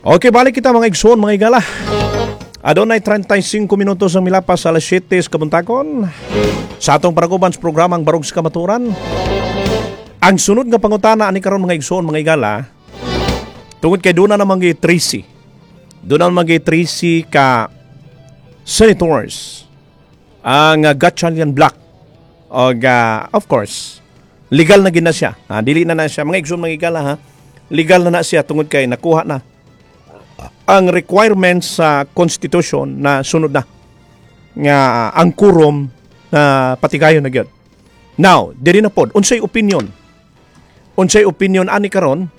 Okay, balik kita, mga igsoon, mga igala. Adunay 35 minutos ang milapas sa alas 7 sa kabuntagon. Sa atong paraguban sa programang Barog sa Kamatuoran. Ang sunod nga pangutana ani karon, mga igsoon, mga igala, tungod kay duna namang gi 13. Duna namang gi 13 ka senators ang Gatchalian Bloc og of course legal na gina siya. Ah, dili na na siya, mga igsoon, mga igala, ha. Legal na na siya tungod kay nakuha na ang requirements sa constitution na sunod na nga ang quorum na patigayon na gyud. Now, diri na pod, unsay opinion? Unsay opinion ani karon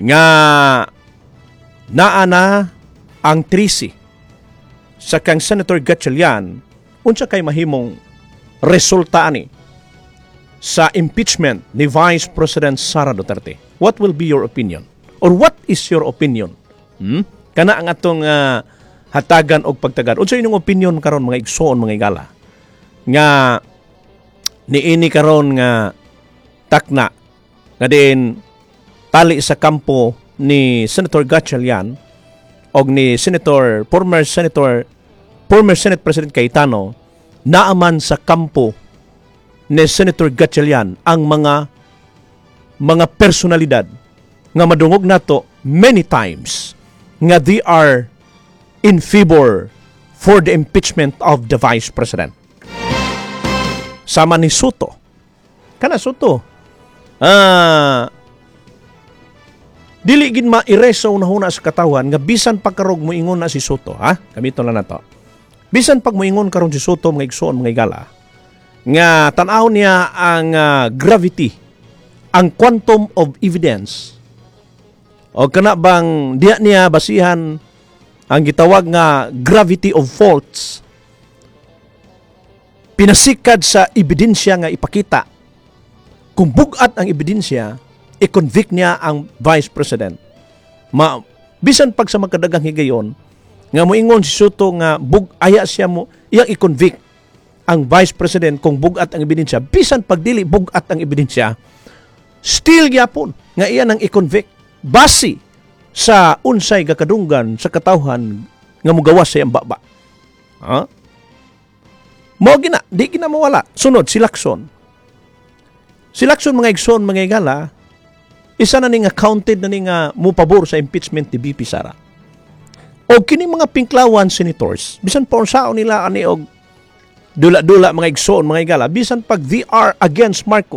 nga naa na ang 13 sa kang Senator Gatchalian, unsa kay mahimong resulta ani sa impeachment ni Vice President Sara Duterte? What will be your opinion? Or what is your opinion? Hmm? Kana ang atong hatagan og pagtagad. Unsa inyong opinion karon, mga igsoon, mga igala, nga niini karon nga takna nga diin tali sa kampo ni Senator Gatchalian og ni Senator former Senator former Senate President Cayetano, naaman sa kampo ni Senator Gatchalian ang mga personalidad nga madungog nato many times nga they are in favor for the impeachment of the Vice President? Sama ni Sotto. Kana Sotto. Ah, dili gid ma-erase sa unahuna sa katawhan nga bisan pagkarog moingon na si Sotto, ha? Gamiton lang nato. Bisan pag moingon karon si Sotto, mga igsoon, mga igala, nga tan-awon niya ang gravity, ang quantum of evidence. O kana bang diya niya basihan ang gitawag nga gravity of faults, pinasikad sa ebidensya nga ipakita. Kung bugat ang ebidensya, i-convict niya ang Vice President. Ma bisan pag sa magkadagang higayon nga moingon si Sotto nga bug aya siya mo iyang i-convict ang Vice President kung bugat ang ebidensya, bisan pag dili bugat ang ebidensya, still gyapon nga iya nang i-convict base sa unsay gakadunggan sa katawhan nga mugawas sa iyang baba. Ha? Mo gina, di gina mawala. Sunod si Lacson. Si Lacson, mga igsoon, mga igala, isa na ni nga counted na ni nga mupabor sa impeachment ni VP Sara. O kini mga pinklawan senators, bisan pa unsaon nila ani og dula-dula, mga igsoon, mga igala, bisan pag they are against Marcos,